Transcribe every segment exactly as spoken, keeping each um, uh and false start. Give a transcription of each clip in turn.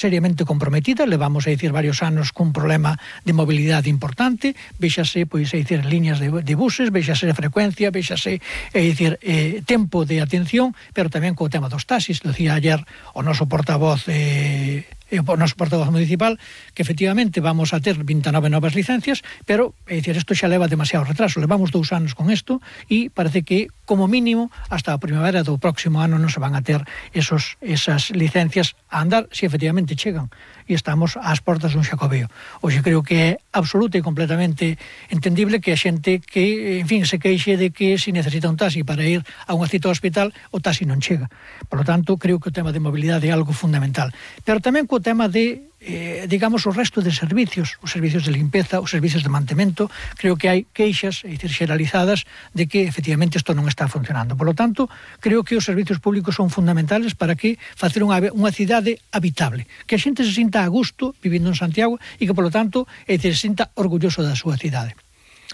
seriamente comprometida, levamos a dicir varios anos cun problema de mobilidade importante, véxase, pois, a dicir, líneas de, de buses, véxase a frecuencia, véxase, a dicir, eh, tempo de atención, pero tamén co tema dos taxis, decía ayer o noso portavoz eh, o noso portavoz municipal, que efectivamente vamos a ter vinte e nove novas licencias, pero, é dicir, isto xa leva demasiado retraso, levamos dous anos con isto e parece que, como mínimo, hasta a primavera do próximo ano non se van a ter esos, esas licencias a andar, se efectivamente chegan, e estamos ás portas dun xacobeo. Hoxe creo que é absoluta e completamente entendible que a xente que, en fin, se queixe de que se necesita un taxi para ir a unha cita ao hospital, o taxi non chega. Por lo tanto, creo que o tema de mobilidade é algo fundamental. Pero tamén co tema de, eh, digamos, o resto de servicios, os servicios de limpeza, os servicios de mantemento, creo que hai queixas, é dicir, xeralizadas, de que efectivamente isto non está funcionando. Por lo tanto, creo que os servicios públicos son fundamentales para que facer unha, unha cidade habitable, que a xente se sinta a gusto vivindo en Santiago e que, por lo tanto, é dicir, se sinta orgulloso da súa cidade.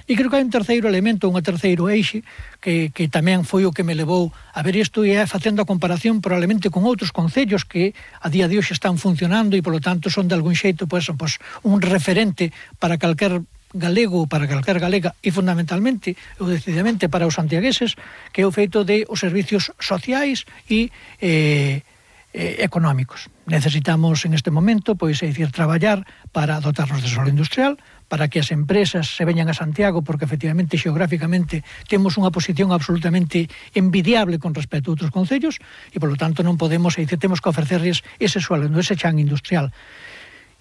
E creo que hai un terceiro elemento, un terceiro eixe, que, que tamén foi o que me levou a ver isto e é facendo a comparación probablemente con outros concellos que a día de hoxe están funcionando e, polo tanto, son de algún xeito pues, pues, un referente para calquer galego, para calquer galega e fundamentalmente, ou decididamente para os santiagueses, que é o feito de os servicios sociais e eh, eh, económicos. Necesitamos en este momento, pois, é dicir, traballar para dotarnos de solo industrial, para que as empresas se veñan a Santiago, porque efectivamente, xeográficamente, temos unha posición absolutamente envidiable con respecto a outros concellos, e, polo tanto, non podemos, é dicir, temos que ofrecerles ese suelo, ese chan industrial.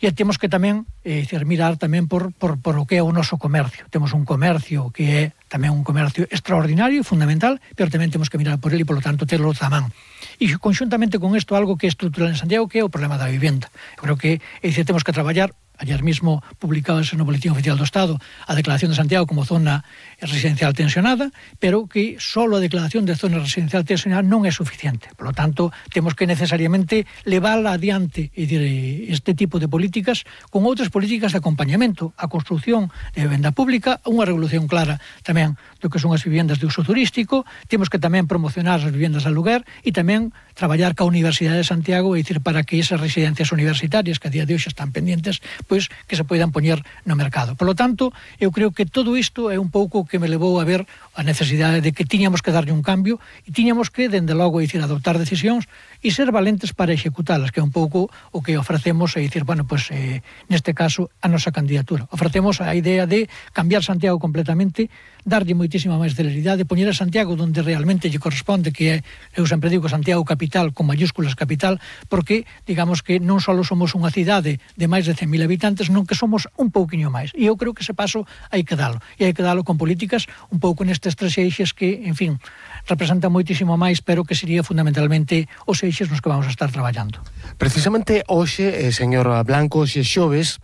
E temos que tamén, é dicir, mirar tamén por, por, por o que é o noso comercio. Temos un comercio que é tamén un comercio extraordinario e fundamental, pero tamén temos que mirar por ele e, polo tanto, terlo a man. E conxuntamente con isto, algo que é estrutural en Santiago, que é o problema da vivenda. Eu creo que, é dicir, temos que traballar. Ayer mismo publicábase no Boletín Oficial do Estado a declaración de Santiago como zona residencial tensionada, pero que só a declaración de zona residencial tensionada non é suficiente. Por lo tanto, temos que necesariamente levarla adiante e dir, este tipo de políticas con outras políticas de acompañamento, a construción de vivenda pública, unha regulación clara tamén do que son as vivendas de uso turístico, temos que tamén promocionar as vivendas de aluguer e tamén traballar ca Universidade de Santiago, é dicir, para que esas residencias universitarias que a día de hoxe están pendientes, pois que se poidan poñer no mercado. Por lo tanto, eu creo que todo isto é un pouco que me levou a ver a necesidade de que tiñamos que darlle un cambio e tiñamos que, dende logo, dicir, adoptar decisións e ser valentes para executalas, que é un pouco o que ofrecemos, é dicir, bueno, pues, eh, neste caso, a nosa candidatura. Ofrecemos a idea de cambiar Santiago completamente, darlle moitísima máis celeridade, poñer a Santiago donde realmente lle corresponde, que é, eu sempre digo, Santiago capital, con mayúsculas capital, porque, digamos que non só somos unha cidade de máis de cen mil habitantes, non que somos un pouquiño máis. E eu creo que ese paso hai que dalo. E hai que dalo con políticas un pouco nestes tres eixes que, en fin, representan moitísimo máis, pero que sería fundamentalmente os eixes nos que vamos a estar traballando. Precisamente hoxe, eh, señor Blanco, xe xoves,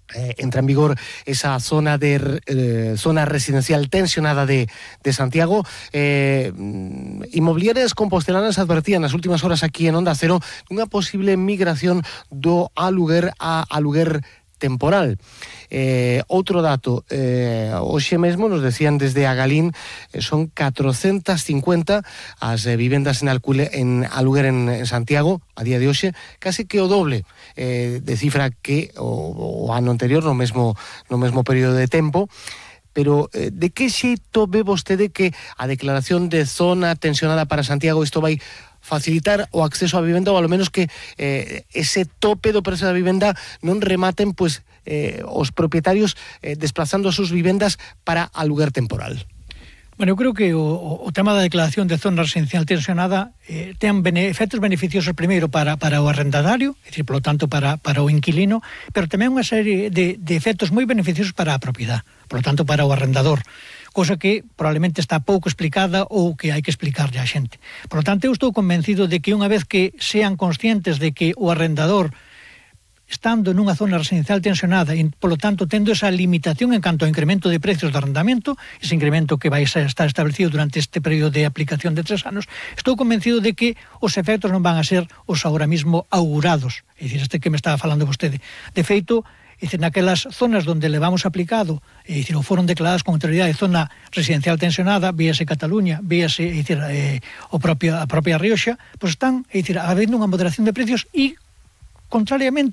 Eh, entra en vigor esa zona de eh, zona residencial tensionada de, de Santiago. eh, Inmobiliarias compostelanas advertían nas últimas horas aquí en Onda Cero unha posible migración do aluguer a aluguer temporal. Eh, outro dato, eh, hoxe mesmo nos decían desde Agalín, eh, son catrocentas cincuenta as eh, vivendas en, alcule, en aluguer en, en Santiago a día de hoxe, casi que o doble eh, de cifra que o, o ano anterior no mesmo, no mesmo período de tempo. Pero eh, de que xeito ve vostede que a declaración de zona tensionada para Santiago isto vai facilitar o acceso á vivenda, ou ao menos que eh, ese tope do prezo da vivenda non rematen pues, eh, os propietarios eh, desplazando as súas vivendas para aluguer temporal? Bueno, eu creo que o, o tema da declaración de zona residencial tensionada eh, ten bene, efectos beneficiosos primeiro para, para o arrendatario, é dicir, polo tanto, para, para o inquilino, pero tamén unha serie de, de efectos moi beneficiosos para a propiedade, polo tanto, para o arrendador, cosa que probablemente está pouco explicada ou que hai que explicarlle á xente. Por lo tanto, eu estou convencido de que unha vez que sean conscientes de que o arrendador, estando nunha zona residencial tensionada e, polo tanto, tendo esa limitación en canto ao incremento de precios de arrendamento, ese incremento que vai a estar establecido durante este período de aplicación de tres anos, estou convencido de que os efectos non van a ser os agora mismo augurados, é dicir, este que me estaba falando vostede. De feito, é dicir, naquelas zonas onde levamos aplicado, é dicir, ou foron declaradas con autoridade de zona residencial tensionada, víase Cataluña, víase, é dicir, eh, o propio, a propia Rioxa, pois están, é dicir, habendo unha moderación de precios e contrariamente